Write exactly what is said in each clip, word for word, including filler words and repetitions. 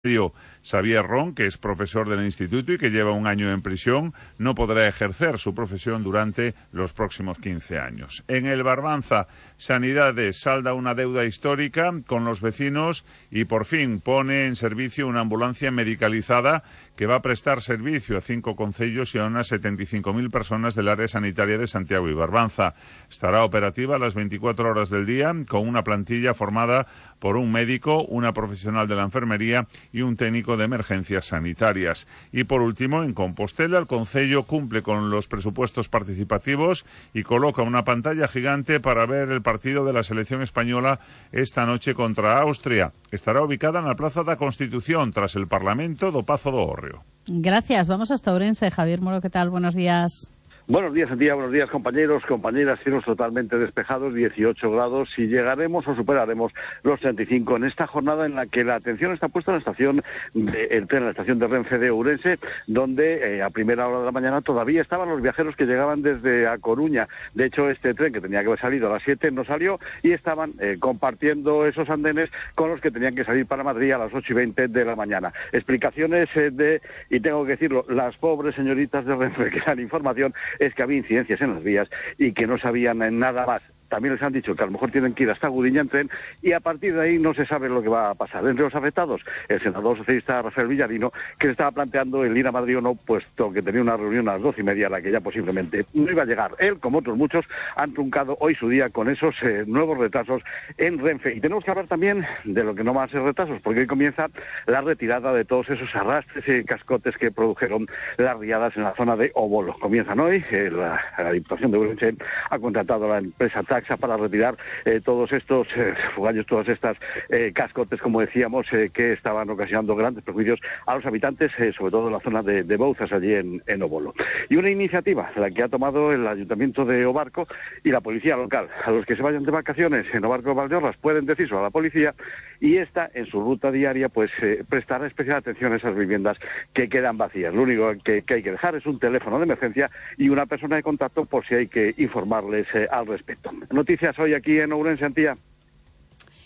Xavier Ron, que es profesor del instituto y que lleva un año en prisión, no podrá ejercer su profesión durante los próximos quince años. En el Barbanza, Sanidades salda una deuda histórica con los vecinos y por fin pone en servicio una ambulancia medicalizada que va a prestar servicio a cinco concellos y a unas setenta y cinco mil personas del área sanitaria de Santiago y Barbanza. Estará operativa a las veinticuatro horas del día con una plantilla formada por un médico, una profesional de la enfermería y un técnico de emergencias sanitarias. Y por último, en Compostela, el concello cumple con los presupuestos participativos y coloca una pantalla gigante para ver el partido de la selección española esta noche contra Austria. Estará ubicada en la Plaza da Constitución, tras el Parlamento do Pazo do Hórreo. Gracias. Vamos hasta Ourense. Javier Moro, ¿qué tal? Buenos días. Buenos días, Antía, buenos días, compañeros, compañeras, cielos totalmente despejados, dieciocho grados, y llegaremos o superaremos los treinta y cinco en esta jornada en la que la atención está puesta en la estación de, el tren, la estación de Renfe de Ourense, donde eh, a primera hora de la mañana todavía estaban los viajeros que llegaban desde A Coruña. De hecho, este tren, que tenía que haber salido a las siete, no salió, y estaban eh, compartiendo esos andenes con los que tenían que salir para Madrid a las ocho y veinte de la mañana. Explicaciones eh, de, y tengo que decirlo, las pobres señoritas de Renfe que dan información, es que había incidencias en las vías y que no sabían nada más. También les han dicho que a lo mejor tienen que ir hasta Gudiña en tren, y a partir de ahí no se sabe lo que va a pasar. Entre los afectados, el senador socialista Rafael Villarino, que le estaba planteando el ir a Madrid o no, puesto que tenía una reunión a las doce y media a la que ya posiblemente no iba a llegar. Él, como otros muchos, han truncado hoy su día con esos eh, nuevos retrasos en Renfe. Y tenemos que hablar también de lo que no van a ser retrasos, porque hoy comienza la retirada de todos esos arrastres y cascotes que produjeron las riadas en la zona de Obolo. Comienzan hoy, eh, la, la Diputación de Ourense ha contratado a la empresa para retirar eh, todos estos eh, fugallos, todas estas eh, cascotes, como decíamos, eh, que estaban ocasionando grandes perjuicios a los habitantes, eh, sobre todo en la zona de, de Bouzas, allí en, en Obolo. Y una iniciativa, la que ha tomado el Ayuntamiento de Obarco y la Policía Local. A los que se vayan de vacaciones en Obarco o Valdeorras pueden decírselo a la policía, y esta, en su ruta diaria, pues eh, prestará especial atención a esas viviendas que quedan vacías. Lo único que, que hay que dejar es un teléfono de emergencia y una persona de contacto por si hay que informarles eh, al respecto. Noticias hoy aquí en Ourense, Antía.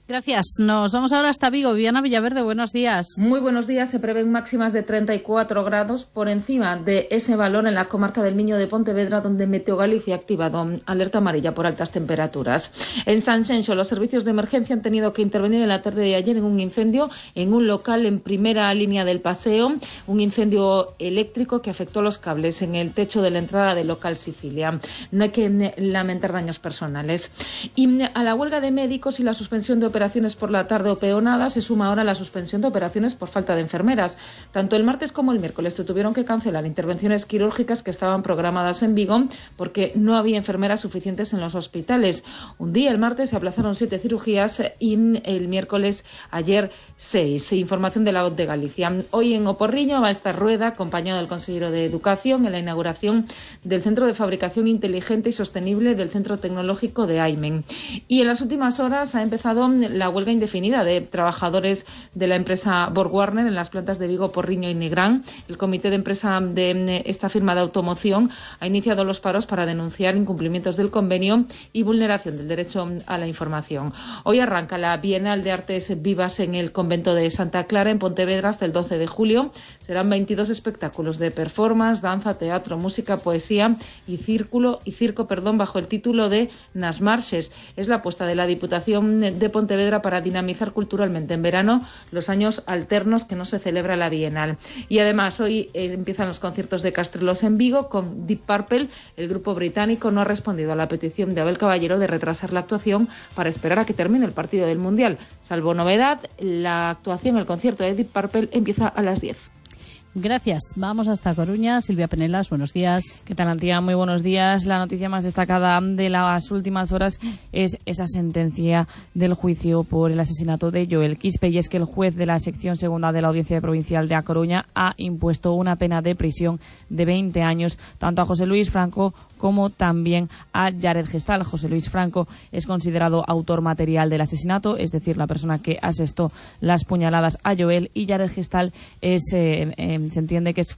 Gracias. Nos vamos ahora hasta Vigo. Viviana Villaverde, buenos días. Muy buenos días. Se prevén máximas de treinta y cuatro grados por encima de ese valor en la comarca del Miño de Pontevedra, donde Meteo Galicia ha activado alerta amarilla por altas temperaturas. En Sanxenxo, los servicios de emergencia han tenido que intervenir en la tarde de ayer en un incendio en un local en primera línea del paseo, un incendio eléctrico que afectó los cables en el techo de la entrada del local Sicilia. No hay que lamentar daños personales. Y a la huelga de médicos y la suspensión de operaciones por la tarde o peonada se suma ahora la suspensión de operaciones por falta de enfermeras. Tanto el martes como el miércoles se tuvieron que cancelar intervenciones quirúrgicas que estaban programadas en Vigo porque no había enfermeras suficientes en los hospitales. Un día, el martes, se aplazaron siete cirugías y el miércoles, ayer, seis. Información de la O T de Galicia. Hoy en Oporriño va a estar Rueda, acompañado del consejero de Educación, en la inauguración del Centro de Fabricación Inteligente y Sostenible del Centro Tecnológico de Aimen. Y en las últimas horas ha empezado la huelga indefinida de trabajadores de la empresa BorgWarner en las plantas de Vigo, Porriño y Nigrán. El comité de empresa de esta firma de automoción ha iniciado los paros para denunciar incumplimientos del convenio y vulneración del derecho a la información. Hoy arranca la Bienal de Artes Vivas en el convento de Santa Clara, en Pontevedra, hasta el doce de julio. Serán veintidós espectáculos de performance, danza, teatro, música, poesía y círculo y circo, perdón, bajo el título de Nas Marches. Es la apuesta de la Diputación de Pontevedra para dinamizar culturalmente en verano los años alternos que no se celebra la Bienal. Y además hoy eh, empiezan los conciertos de Castrelos en Vigo con Deep Purple. El grupo británico no ha respondido a la petición de Abel Caballero de retrasar la actuación para esperar a que termine el partido del Mundial. Salvo novedad, la actuación, el concierto de Deep Purple empieza a las diez. Gracias. Vamos hasta Coruña. Silvia Penelas, buenos días. ¿Qué tal, Antía? Muy buenos días. La noticia más destacada de las últimas horas es esa sentencia del juicio por el asesinato de Joel Quispe, y es que el juez de la sección segunda de la Audiencia Provincial de A Coruña ha impuesto una pena de prisión de veinte años tanto a José Luis Franco como también a Jared Gestal. José Luis Franco es considerado autor material del asesinato, es decir, la persona que asestó las puñaladas a Joel, y Jared Gestal es eh, eh, se entiende que es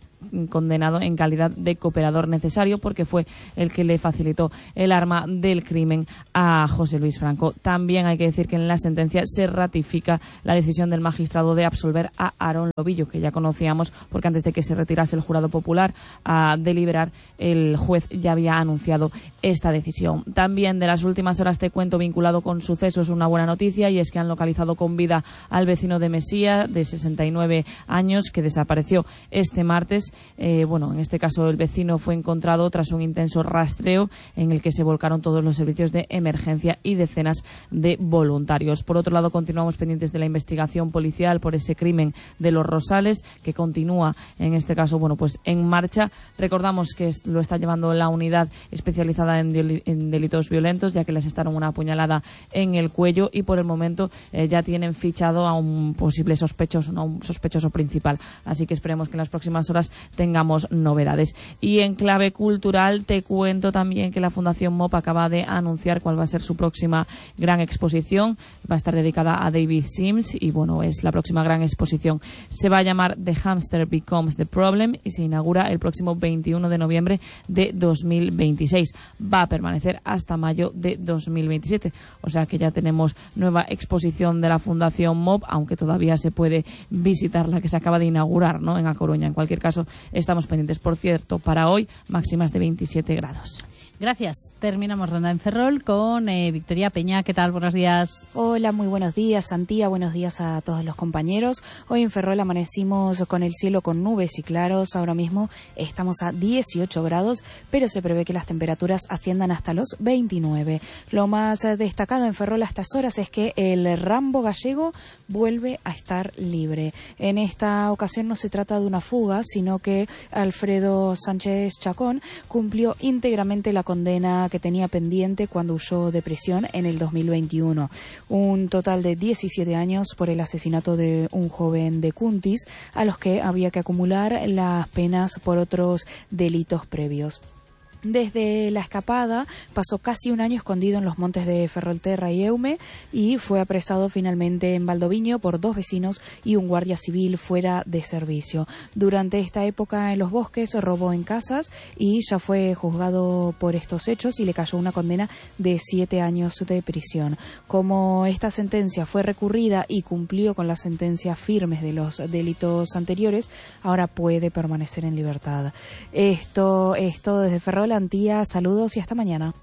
condenado en calidad de cooperador necesario porque fue el que le facilitó el arma del crimen a José Luis Franco. También hay que decir que en la sentencia se ratifica la decisión del magistrado de absolver a Aarón Lobillo, que ya conocíamos porque antes de que se retirase el jurado popular a deliberar, el juez ya había anunciado esta decisión. También de las últimas horas te cuento, vinculado con sucesos, una buena noticia, y es que han localizado con vida al vecino de Mesía, de sesenta y nueve años, que desapareció este martes. Eh, bueno, en este caso el vecino fue encontrado tras un intenso rastreo en el que se volcaron todos los servicios de emergencia y decenas de voluntarios. Por otro lado, continuamos pendientes de la investigación policial por ese crimen de Los Rosales, que continúa en este caso, bueno, pues en marcha. Recordamos que lo está llevando la unidad especializada en, en delitos violentos, ya que les asestaron una apuñalada en el cuello, y por el momento eh, ya tienen fichado a un posible sospechoso, no, un sospechoso principal. Así que esperemos que en las próximas horas tengamos novedades. Y en clave cultural te cuento también que la Fundación M O P acaba de anunciar cuál va a ser su próxima gran exposición. Va a estar dedicada a David Sims y, bueno, es la próxima gran exposición. Se va a llamar The Hamster Becomes the Problem y se inaugura el próximo veintiuno de noviembre de dos mil veintiséis. Va a permanecer hasta mayo de dos mil veintisiete. O sea que ya tenemos nueva exposición de la Fundación M O P, aunque todavía se puede visitar la que se acaba de inaugurar, ¿no?, en A Coruña. En cualquier caso, estamos pendientes. Por cierto, para hoy, máximas de veintisiete grados. Gracias. Terminamos ronda en Ferrol con eh, Victoria Peña. ¿Qué tal? Buenos días. Hola, muy buenos días, Santía. Buenos días a todos los compañeros. Hoy en Ferrol amanecimos con el cielo con nubes y claros. Ahora mismo estamos a dieciocho grados, pero se prevé que las temperaturas asciendan hasta los veintinueve. Lo más destacado en Ferrol a estas horas es que el Rambo gallego vuelve a estar libre. En esta ocasión no se trata de una fuga, sino que Alfredo Sánchez Chacón cumplió íntegramente la condena que tenía pendiente cuando huyó de prisión en el dos mil veintiuno. Un total de diecisiete años por el asesinato de un joven de Cuntis, a los que había que acumular las penas por otros delitos previos. Desde la escapada pasó casi un año escondido en los montes de Ferrolterra y Eume y fue apresado finalmente en Valdoviño por dos vecinos y un guardia civil fuera de servicio. Durante esta época en los bosques robó en casas y ya fue juzgado por estos hechos y le cayó una condena de siete años de prisión. Como esta sentencia fue recurrida y cumplió con las sentencias firmes de los delitos anteriores, ahora puede permanecer en libertad. Esto es todo desde Ferrol. Antía, saludos y hasta mañana.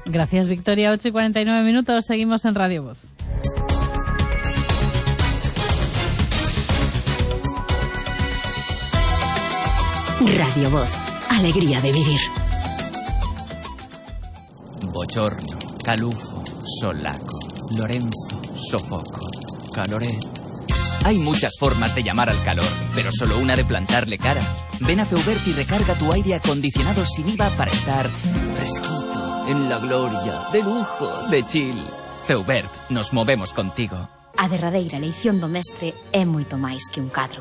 Gracias, Victoria. ocho y cuarenta y nueve minutos. Seguimos en Radio Voz. Radio Voz. Alegría de vivir. Bochorno, calufo, solaco, Lorenzo, sofoco, caloret. Hay muchas formas de llamar al calor, pero solo una de plantarle cara. Ven a Feubert y recarga tu aire acondicionado sin I V A para estar fresquito, en la gloria, de lujo, de chill. Feubert, nos movemos contigo. A derradeira eleición do mestre é moito máis que un cadro.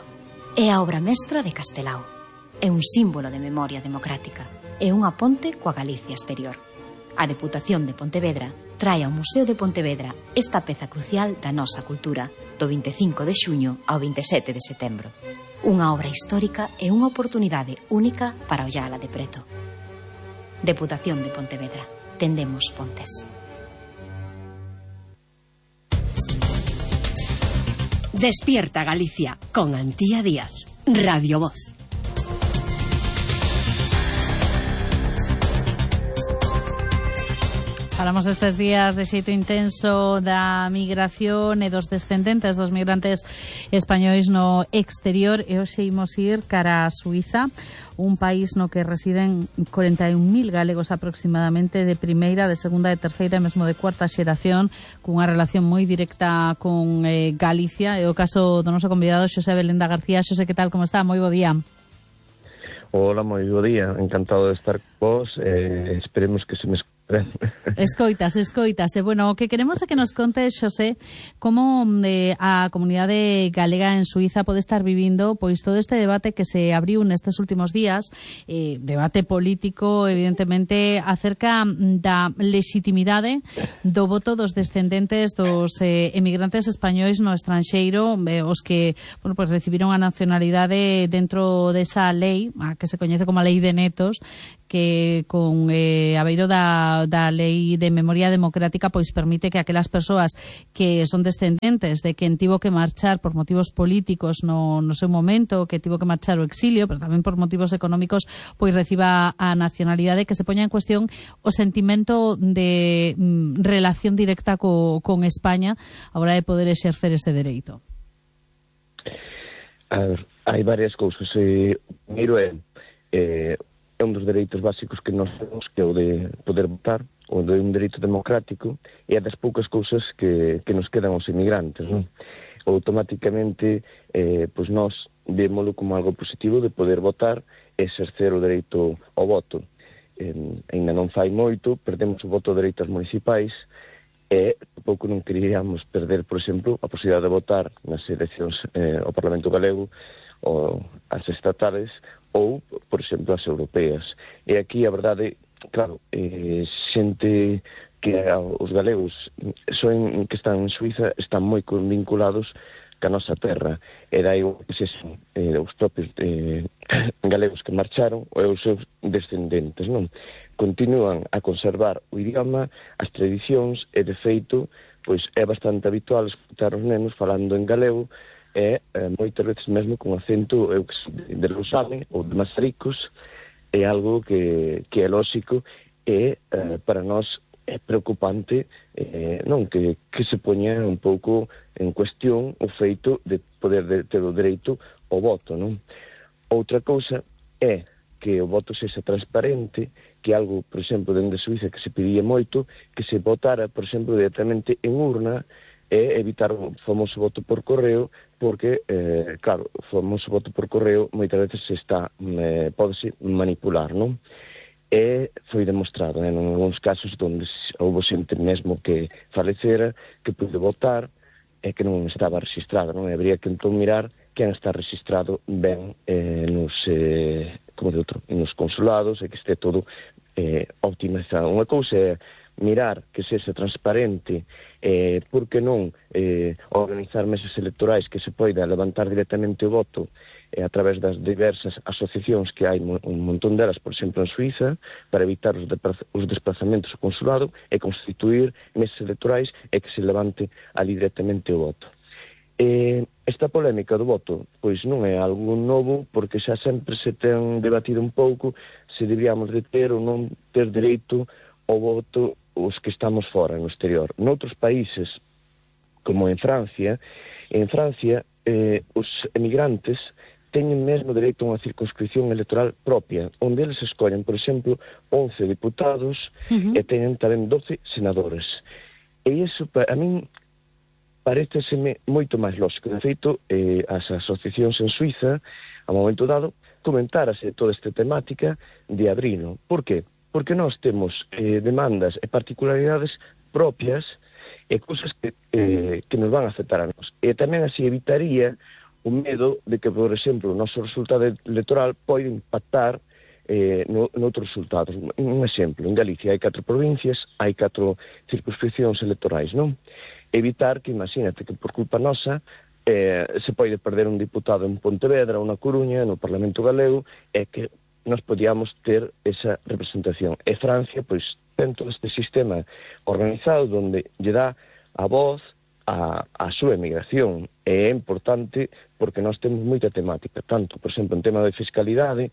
É a obra mestra de Castelao. É un símbolo de memoria democrática. É unha ponte coa Galicia exterior. A Deputación de Pontevedra trae ao Museo de Pontevedra esta peza crucial da nosa cultura do vinte e cinco de xuño ao vinte e sete de setembro. Unha obra histórica e unha oportunidade única para ollala de preto. Deputación de Pontevedra. Tendemos pontes. Despierta Galicia con Antía Díaz. Radio Voz. Falamos estes días de xeito intenso da migración e dos descendentes dos migrantes españois no exterior, e hoxe imos ir cara a Suiza, un país no que residen corenta e un mil galegos aproximadamente, de primeira, de segunda, de terceira e mesmo de cuarta xeración, cunha relación moi directa con eh, Galicia. É o caso do noso convidado Xosé Belenda García. Xosé, que tal, como está? Moi bo día. Hola, moi bo día, encantado de estar con vos, eh, esperemos que se me escuche Escoitas, escoitas. E, bueno, o que queremos é que nos conte, Xosé, como eh, a comunidade galega en Suiza pode estar vivindo pois todo este debate que se abriu nestes últimos días, eh, debate político, evidentemente, acerca da legitimidade do voto dos descendentes dos eh, emigrantes españois no estranxeiro, eh, os que, bueno, pues recibiron a nacionalidade dentro desa lei, a que se coñece como a Lei de Netos, que con eh, a beiro da, da Lei de Memoria Democrática pois permite que aquelas persoas que son descendentes de quen tivo que marchar por motivos políticos no, no seu momento, que tivo que marchar ao exilio, pero tamén por motivos económicos, pois reciba a nacionalidade, que se poña en cuestión o sentimento de mm, relación directa co, con España a hora de poder exercer ese dereito. A ver, hai varias cousas. Eh, primeiro é eh, é un dos dereitos básicos que nós temos, que é o de poder votar, o de un dereito democrático, e é das poucas cousas que, que nos quedan aos inmigrantes, non? Automáticamente, eh, pois nós vémolo como algo positivo de poder votar e exercer o dereito ao voto. Eh, ainda non fai moito, perdemos o voto de dereitos municipais, e pouco non queríamos perder, por exemplo, a posibilidade de votar nas eleccións eh, ao Parlamento Galego, ou as estatales, ou, por exemplo, as europeas. E aquí, a verdade, claro, eh, xente que os galegos son, que están en Suiza están moi vinculados ca nosa terra. E dai que se son eh, os propios eh, galegos que marcharon ou os seus descendentes, non? Continúan a conservar o idioma, as tradicións, e de feito, pois é bastante habitual escutar os nenos falando en galego, e eh, moitas veces mesmo con acento eu que de Lousame ou de Mazaricos. É algo que, que é lóxico, e eh, para nós é preocupante eh, non que, que se poña un pouco en cuestión o feito de poder de, ter o dereito ao voto, non? Outra cousa é que o voto sexa transparente, que algo, por exemplo, dende Suiza que se pedía moito, que se votara, por exemplo, directamente en urna, e evitar o famoso voto por correo, porque, eh, claro, o famoso voto por correo moitas veces se está, eh, pódese manipular, non? E foi demostrado, en algúns casos onde houve xente mesmo que falecera, que pude votar, e que non estaba registrado, non? E habría que entón mirar quen está registrado ben eh, nos, eh, como de outro, nos consulados, e que este todo eh, optimizado. Unha cousa é mirar que sexa transparente, eh, por que non eh, organizar mesas electorais que se poida levantar directamente o voto eh, a través das diversas asociacións que hai un montón delas, por exemplo, en Suiza, para evitar os, os desplazamentos ao consulado, e constituir mesas electorais e que se levante ali directamente o voto. Eh, esta polémica do voto pois non é algo novo, porque xa sempre se ten debatido un pouco se deberíamos de ter ou non ter dereito ao voto os que estamos fora, no exterior. Noutros países, como en Francia, en Francia eh, os emigrantes teñen mesmo dereito a unha circunscripción electoral propia, onde eles escollen, por exemplo, once diputados, uh-huh. e teñen tamén doce senadores. E iso, a min, pareceseme moito máis lógico. De feito, eh, as asociacións en Suiza, a momento dado, comentárase toda esta temática de abrilo. Por qué? Porque nós temos eh, demandas e particularidades propias e cousas que, eh, que nos van a afectar a nós. E tamén así evitaría o medo de que, por exemplo, o noso resultado electoral pode impactar eh, no, noutros resultados. Un exemplo, en Galicia hai catro provincias, hai catro circunscripcións electorais, non? Evitar que, imagínate, que por culpa nosa eh, se pode perder un diputado en Pontevedra ou na Coruña, no Parlamento Galego, e que nós podíamos ter esa representación. E Francia, pois, ten todo este sistema organizado onde lle dá a voz a, a súa emigración. E é importante porque nós temos moita temática, tanto, por exemplo, en tema de fiscalidade,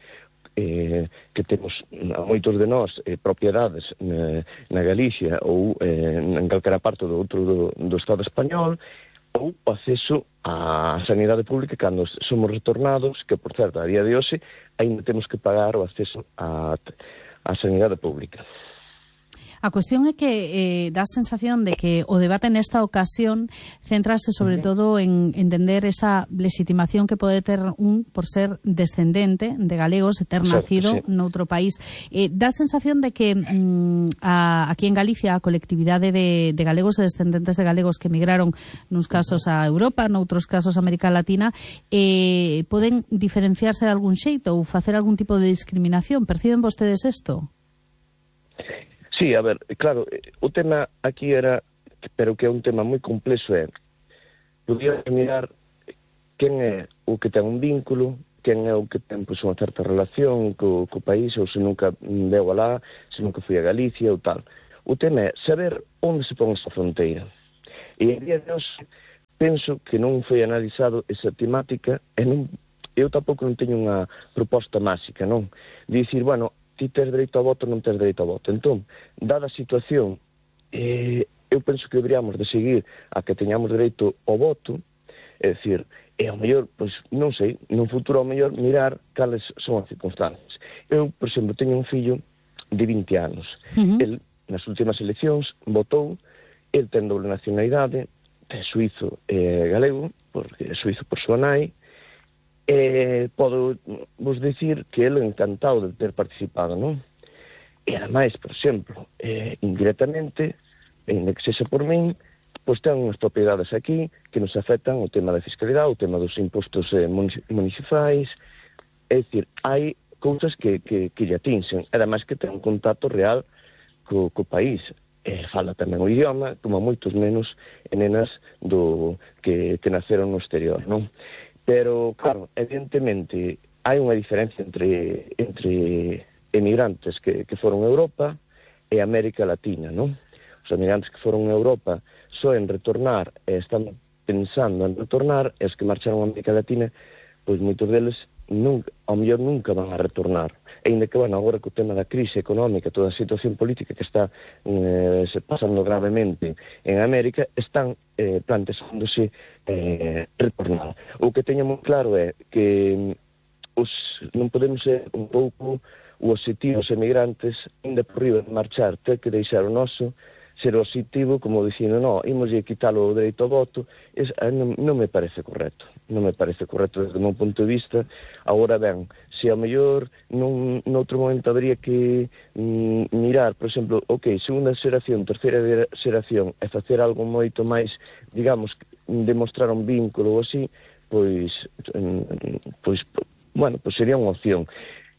eh, que temos a moitos de nós eh, propiedades na, na Galicia ou eh, en calquera parte do outro do, do Estado español, ou o acceso á sanidade pública cando somos retornados, que, por certo, a día de hoxe, ainda temos que pagar o acceso á, á sanidade pública. A cuestión é que eh, dá a sensación de que o debate nesta ocasión centrase sobre todo en entender esa legitimación que pode ter un por ser descendente de galegos e ter nacido sí. noutro país. Eh, dá a sensación de que mm, a, aquí en Galicia a colectividade de, de galegos e descendentes de galegos que emigraron nuns casos a Europa, noutros casos a América Latina, eh, poden diferenciarse de algún xeito ou facer algún tipo de discriminación. Perciben vostedes isto? Sí, a ver, claro, o tema aquí era, pero que é un tema moi complexo, é podía mirar quen é o que ten un vínculo, quen é o que ten pois, unha certa relación co, co país, ou se nunca veu alá, se nunca fui a Galicia ou tal. O tema é saber onde se pon esa fronteira. E en día de hoxe penso que non foi analizado esa temática e non, eu tampouco non teño unha proposta máxica, non? De dicir, bueno, ti tes dereito ao voto, non tes dereito ao voto. Entón, dada a situación, eh, eu penso que deberíamos de seguir a que teñamos dereito ao voto, é dicir, e ao mellor, pois, non sei, nun futuro ao mellor mirar cales son as circunstancias. Eu, por exemplo, teño un fillo de vinte anos. Uh-huh. El, nas últimas eleccións, votou, el ten doble nacionalidade, é suizo e galego, porque é suizo por súa nai, e podo vos dicir que ele encantado de ter participado, non? E ademais, por exemplo, eh, indirectamente, en que sexa por min, pois ten unhas propiedades aquí que nos afectan o tema da fiscalidade, o tema dos impostos eh, municipais, é dicir, hai cousas que, que, que lle atinxen, ademais que ten un contacto real co, co país, e fala tamén o idioma, como moitos menos nenas do, que, que naceron no exterior, non? Pero, claro, evidentemente, hai unha diferencia entre, entre emigrantes que, que foron a Europa e América Latina, non? Os emigrantes que foron a Europa só en retornar, e están pensando en retornar, e os que marcharon a América Latina, pois moitos deles nunca, ao mellor nunca van a retornar. E ainda que, bueno, agora co tema da crise económica, toda a situación política que está eh, se pasando gravemente en América, están eh, planteándose eh, retornar. O que teño moi claro é que os, non podemos ser un pouco o objetivo os emigrantes, ainda por riba de marchar, ter que deixar o noso, ser o objetivo, como dicindo, no, imos a quitalo o dereito ao voto, es, non, non me parece correcto. Non me parece correcto desde o meu punto de vista. Agora ben, se ao mellor nun, noutro momento habría que mm, mirar, por exemplo, ok, segunda xeración, terceira xeración, e facer algo moito máis, digamos, demostrar un vínculo ou así, pois, pois, bueno, pois sería unha opción.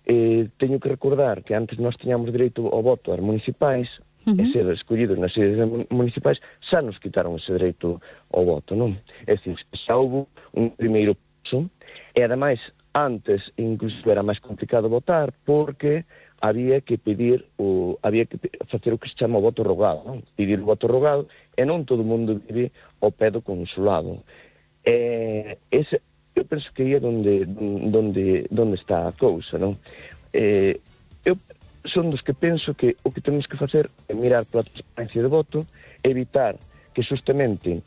Eh, teño que recordar que antes nós tiñamos dereito ao voto ás municipais, Uh-huh. e ser escollidos nas sedes municipais, xa nos quitaron ese dereito ao voto, non? É dicir, xa houve un primeiro paso, e ademais, antes, incluso era máis complicado votar, porque había que pedir, o, había que facer o que se chama o voto rogado, non? Pedir o voto rogado, e non todo o mundo vive ao pé do consulado. E, ese, eu penso que aí é donde, donde, donde está a cousa, non? Eh, eu son dos que penso que o que temos que facer é mirar pola transparencia de voto, evitar que justamente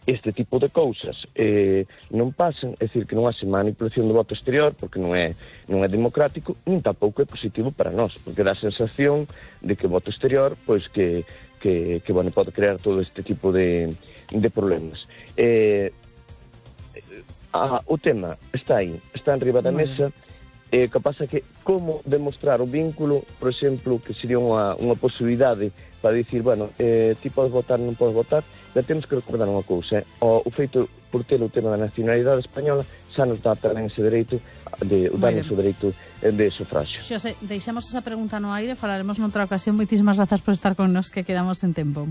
este tipo de cousas eh, non pasen, é dicir, que non haxe manipulación do voto exterior, porque non é, non é democrático, nin tampouco é positivo para nós, porque dá a sensación de que o voto exterior, pois que, que, que bueno, pode crear todo este tipo de, de problemas. Eh, a, o tema está aí, está en riba da mesa. Eh, que pasa que como demostrar o vínculo, por exemplo, que sería unha, unha posibilidade para dicir, bueno, eh, ti podes votar, non podes votar, pero temos que recordar unha cousa, eh? o, o feito por ter o tema da nacionalidade española xa nos dá tamén ese dereito de, darnos o dereito de sufragio. Xosé, deixamos esa pregunta no aire, falaremos noutra ocasión. Moitísimas grazas por estar con nos, que quedamos en tempo.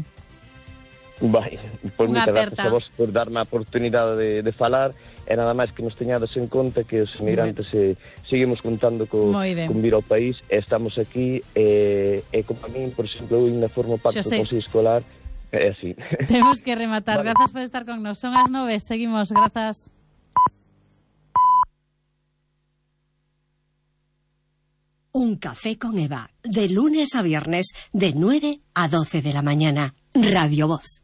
Vai, pois moitas grazas a vos por darme a oportunidade de, de falar. E nada máis que nos teñades en conta que os emigrantes eh, seguimos contando co, con vir ao país, e estamos aquí, e, e como a mí, por exemplo, eu ainda formo parte do Consello Escolar, é así. Temos que rematar. Vale. Grazas por estar con nos. Son as nove, seguimos, grazas. Un café con Eva, de lunes a viernes, de nueve a doce de la mañana. Radio Voz.